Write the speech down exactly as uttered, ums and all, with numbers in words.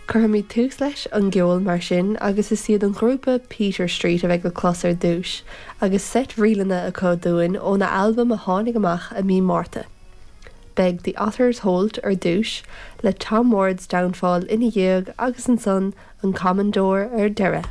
Cuirfimid tús leis an gceol mar sin agus is iad an grúpa Peter Street a bheidh le clos ar dtús, agus seit ríleanna acu dúinn óna albam a tháinig amach i mí Márta. Beidh The Otter's Holt ar dtús le Tom Ward's Downfall ina dhiaidh agus ansan an Common Door ar deireadh.